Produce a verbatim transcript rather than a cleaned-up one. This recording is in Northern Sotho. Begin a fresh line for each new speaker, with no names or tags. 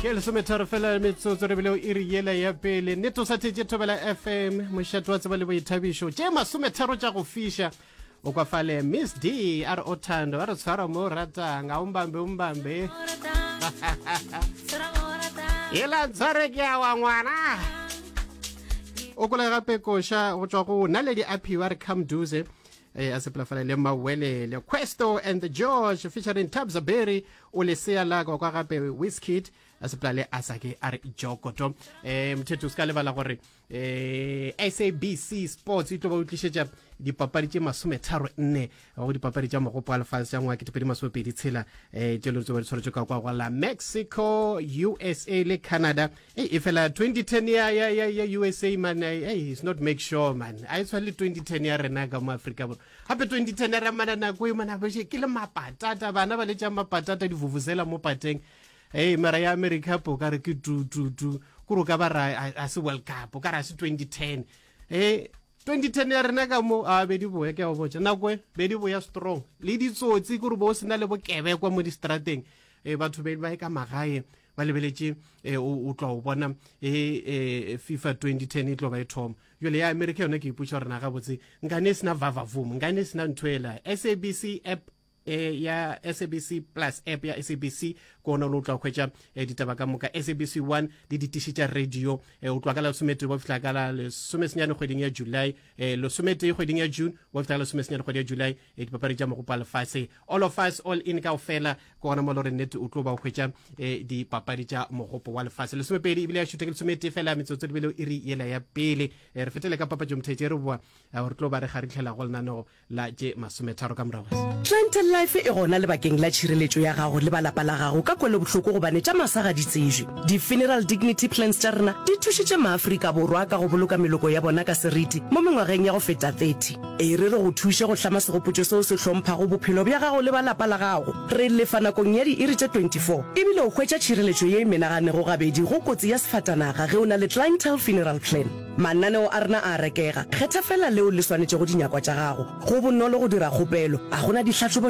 Ke lesometharo fela metsotso re bile o iri yela ya pele. Nnete o sa thetše Thobela F M, mošate wa tseba le boithabišo. Tše masometharo tša go fiša. O kwa fale Miss D a re o thando a re tshwara mo o ratang a umbambe umbambe. Yela ntshware ke a wa ngwana. O kola gape koša go tšwa go Naledi Aphiwe a re come duze eh, a sepela fale le Mawelele Questo and the George featuring Tabza Berry o lesea la kwa kwa gape Wizkid a sepela le Asake a re Jokoto. eh mothetho o se ka lebala gore eh S A B C Sports e tlo ba o tlišetša dipapadi tše masometharo nne go dipapadi tša mogopo wa lefase tša ngwaga ketepedi masomepedi tshela eh tše le tse ba di tshwaretšwe ka kwa go la Mexico, U S A le Canada. Ei, e fela twenty ten ya ya ya ya U S A man, hey, it's not make sure man, a e tshwane le twenty ten ya rena ka mo Afrika Borwa. Gape twenty ten ya ramana nako e mana ke le mapatata, bana ba letša mapatata divuvuzela mo pateng. Hey, mara ya America po ka re ke tu tu tu kore o ka ba ra a se World Cup, o ka re a se twenty ten. Eh twenty ten ya rena ka mo a be di boya, ke a go botša nako e be di boya strong le ditsotsi kore bo o sena le bokebekwa mo distrateng. E batho be ba ye ka magae ba lebeletše e, o o tla o bona e, e, FIFA twenty ten e tlo ba e thoma. Jale ya America yona ke ipotša gore na gabotse nkane e sena vavavoom, nkane e sena ntho ela. S A B C app eh, ya S A B C Plus, app ya S A B C ke ona o tla hwetša eh, ditaba ka moka, S A B C one le ditiši tša radio. eh, o tloga ka la lesometee wa fihla ka la lesomesenyane kgweding ya July, eh, lesometee kgweding ya June wa fihla ka lesomesenyane kgwedi ya July, eh, dipapadi tša mogopo wa lefase, all of us all in kaofela. Ke gona mo le gore nnete o tlo ba o hwetša eh, dipapadi tša mogopo wa lefase. Lesomepedi ebile ya šutha ke lesometee fela metsotso lebele iri yela ya pele. eh, re fetele ka papatšo mothetše re boa eh, re tlo ba re garitlhela go lenaneo la tše masometharo ka morago.
Clientele Life e gona lebakeng la tšhireletšo ya gago le ba lapa la gago ka kwelobohloko gobane tša masa ga di tsejwe. Di-funeral dignity plans tša rena di thušitše maAfrika Borwa ka go boloka meloko ya bona ka seriti mo mengwageng ya go feta thirty. E re re go thuše go hlama segopotšo seo se hlomphago bophelo bja gago le ba lapa la gago. Re lefa nakong ya diiri tše twenty-four ebile o hwetša tšhireletšo ye e menaganego gabedi go kotsi ya sefatanaga ge o na le Clientele Funeral Plan. Mananeo a rena a a rekega, kgetha fela leo le swanetšego dinyakwa tša gago. Go bonolo go dira kgopelo, a go na dihlahlobo